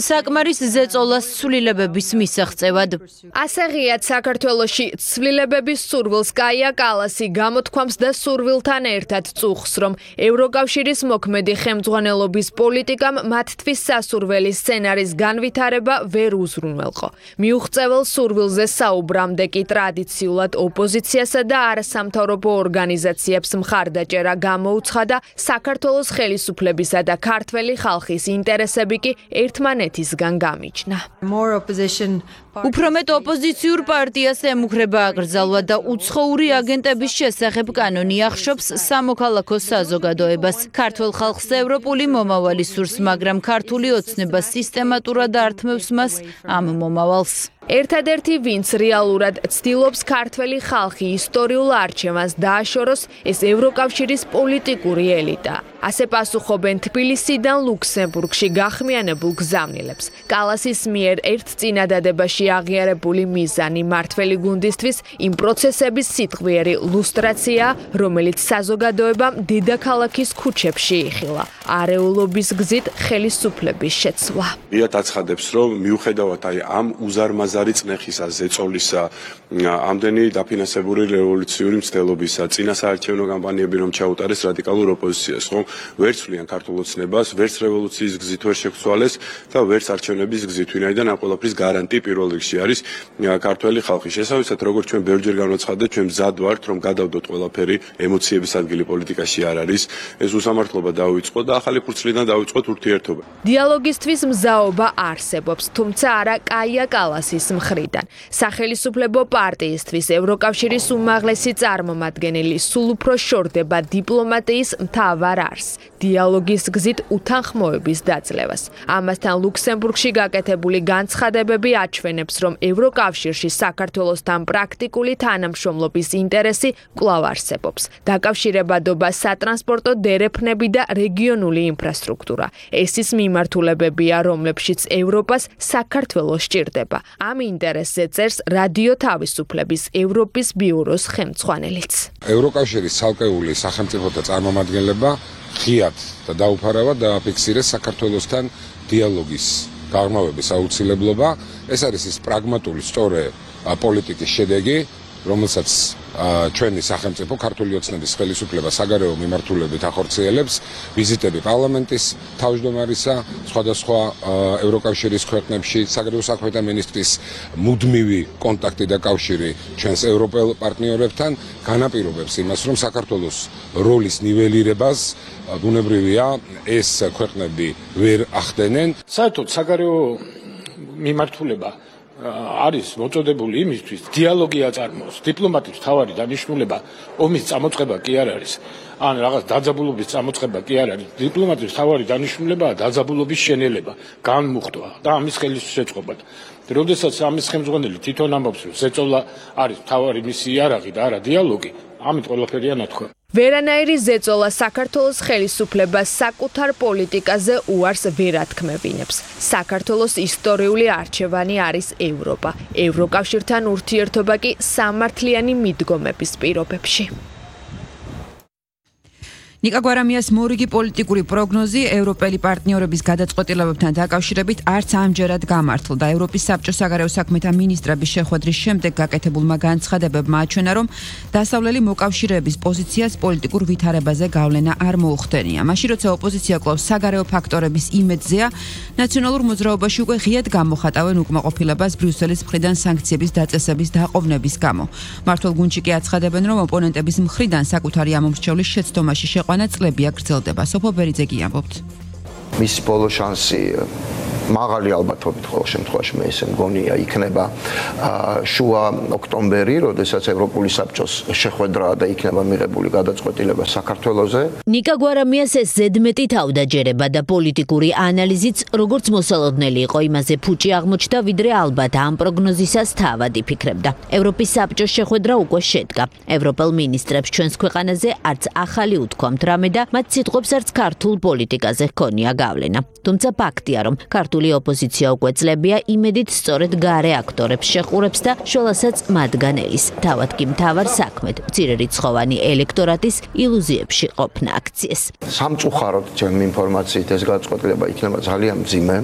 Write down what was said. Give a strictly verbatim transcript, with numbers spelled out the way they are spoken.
საკმარის ზეწოლას ცვლილებების მისაღწევად. ასე ღიად საქართველოში ცვლილებების სურვილს კაია კალასი გამოთქვამს და სურვილთან ერთად წუხს, რომ ევროკავშირის მოქმედი ხელმძღვანელობის პოლიტიკამ მათთვის სასურველი სცენარის განვითარება ვერ უზრუნველყო. მიუღწეվել სურვილზე საუბრამდე კი ტრადიციულად ოპოზიციასა და არასამთავრობო ორგანიზაციებს მხარდაჭერა გამოუცხადა საქართველოს ხელისუფლებისა და ქართველი ხალხის ინტერესები კი ერთმანეთისგან გამიჯნა. უფრო მეტ ოპოზიციურ პარტიას ემუქრება აკრძალვა და უცხოური აგენტების შესახებ კანონი ახშობს სამოქალაქო საზოგადოებას. ქართველ ხალხს ევროპული მომავალი სურს, მაგრამ ქართული ოცნება სისტემატურად ართმევს მას ამ მომავალს. ერთადერთი ვინც რეალურად ცდილობს ქართველი ხალხი ისტორიულ არჩევანს დააშოროს, ეს ევროკავშირის პოლიტიკური ელიტა. ასე პასუხობენ თბილისიდან ლუქსემბურგში გახმიანებულ გზავნილებს. კალასის მიერ ერთ წინადადებაში აღიარებული მიზანი მართველი გუნდისთვის იმ პროცესების სიტყვიერი ლუსტრაცია, რომელიც საზოგადოებამ დედაქალაქის ქუჩებში იხილა. არეულობის გზით ხელისუფლების შეცვლა. იათ აცხადებს, რომ მიუხედავად აი ამ უზარმაზარი წნეხისა, ზეწოლისა, ამდენი დაფინანსებული რევოლუციური მცდელობისა, წინა საარჩევნო კამპანიები რომ ჩაუტარეს რადიკალურ ოპოზიციას, ხომ ვერც ვლიან ქართულ ოცნებას, ვერც რევოლუციის გზით ვერ შეგვცვალეს და ვერც არჩევნების გზით, ვინაიდან ამ ყველაფრის გარანტი პირველ რიგში არის ქართველი ხალხი. შესაბამისად, როგორც ჩვენ ბევრჯერ განვაცხადეთ, ჩვენ მზად ვართ, რომ გადავდოთ ყველაფერი, ემოციების ადგილი პოლიტიკაში არ არის. ეს უსამართლობა დაუიწყო და ახალი ფურცლიდან დაუიწყოთ ურთიერთობა. დიალოგისთვის მზაობა არსებობს, თუმცა არა კაია კალასის მხრიდან. სახელისუფლებო პარტიისთვის ევროკავშირის უმაღლესი წარმომადგენელი სულ უფრო შორდება დიპლომატიის მთავარ არს, დიალოგის გზით უთანხმოების დაძლევას. ამასთან ლუქსემბურგში გაკეთებული განცხადებები აჩვენებს, რომ ევროკავშირში საქართველოსთან პრაქტიკული თანამშრომლობის ინტერესი კვლავ არსებობს. დაკავშირებადობა სატრანსპორტო დერეფნები და რეგიონული ინფრასტრუქტურა. ეს ის მიმართულებებია, რომლებშიც ევროპას საქართველოს სჭირდება. ამ ინტერესზე წერს რადიო თავისუფლების ევროპის ბიუროს ხელმძღვანელიც. ევროკავშირის ცალკეული სახელმწიფოთა წარმომადგენლება ღიად და დაუფარავად დააფიქსირეს საქართველოსთან დიალოგის გაღრმავების აუცილებლობა. ეს არის ის პრაგმატული სწორი პოლიტიკის შედეგი, რომელსაც ჩვენი სახელმწიფო ქართული ოცნების ხელისუფლება საგარეო მიმართულებით ახორციელებს. ვიზიტები პარლამენტის თავმჯდომარისა, სხვადასხვა ევროკავშირის ქვეყნებში, საგარეო საქმეთა მინისტრის მუდმივი კონტაქტი და კავშირი ჩვენს ევროპელ პარტნიორებთან განაპირობებს იმას, რომ საქართველოს როლის ნიველირებას ბუნებრივია ეს ქვეყნები ვერ ახდენენ. საერთოდ საგარეო მიმართულება არის მოწოდებული იმისთვის, დიალოგი აწარმოოს. დიპლომატიის მთავარი დანიშნულება ომის წამოწყება კი არ არის, ან რაღაც დაძაბულობის წამოწყება კი არ არის. დიპლომატიის მთავარი დანიშნულებაა დაძაბულობის შენელება, განმუხტვა და ამის ხელისშეწყობა. როდესაც ამის ხელმძღვანელი თვითონ ამბობს, რომ ზეწოლა არის მთავარი მისი იარაღი და არა დიალოგი, ამით ყველაფერია ნათქვა. ვერანაირი ზეწოლა საქართველოს ხელისუფლებას საკუთარ პოლიტიკაზე უარს ვერ ათქმევინებს. საქართველოს ისტორიული არჩევანი არის ევროპა. ევროკავშირთან ურთიერთობა კი სამართლიანი მიდგომების პირობებში. ნიკა გვარამიას მორიგი პოლიტიკური პროგნოზი ევროპელი პარტნიორების გადაწყვეტილებებთან დაკავშირებით არც ამჯერად გამართლდა. ევროპის საბჭოს საგარეო საქმეთა მინისტრების შეხვედრის შემდეგ გაკეთებულმა განცხადებებმა აჩვენა, რომ დასავლელი მოკავშირეების პოზიციას პოლიტიკურ ვითარებაზე გავლენა არ მოუხდენია. მაშინ როცა ოპოზიცია კვლავ საგარეო ფაქტორების იმედზეა, ნაციონალურ მოძრაობაში უკვე ღიად გამოხატავენ უკმაყოფილებას ბრიუსელის მხრიდან სანქციების დაწესების დაყოვნების გამო. მართლ გუნდში კი აცხადებენ, რომ ოპონენტების მხრიდან საკუთარი ამომრჩევლის შეცდომაში შეყვანა წლებია გრძელდება. სოფო ბერიძე კი ამბობთ. მის ბოლო შანსი მაღალი ალბათობით ყოველ შემთხვევაში მე ესე მგონია იქნება შუა ოქტომბერი, როდესაც ევროპული საბჭოს შეხვედრა და იქნება მიღებული გადაწყვეტილება საქართველოზე. ნიკა გვარამიას ეს ზედმეტი თავდაჯერება და პოლიტიკური ანალიზიც როგორც მოსალოდნელი იყო, იმაზე ფუჭი აღმოჩნდა, ვიდრე ალბათ ამ პროგნოზისას თავად იფიქრებდა. ევროპის საბჭოს შეხვედრა უკვე შედგა. ევროპელ მინისტრებს ჩვენს ქვეყანაზე არც ახალი უთქვამთ რამე და მათ სიტყვებს არც ქართულ პოლიტიკაზე ჰქონია გავლენა. თუმცა ფაქტია, რომ ქართული გამორჩეული ოპოზიცია უკვე წლებია იმედით სწორედ გარე აქტორებს შეხურებს და შოლასაც მათგან ელის. თავად კი მთავარ საქმედ მცირერიცხოვანი ელექტორატის ილუზიებში ყოფნა აქციეს. სამწუხაროდ ჩემი ინფორმაციით ეს გადაწყვეტილება იქნება ძალიან მძიმე.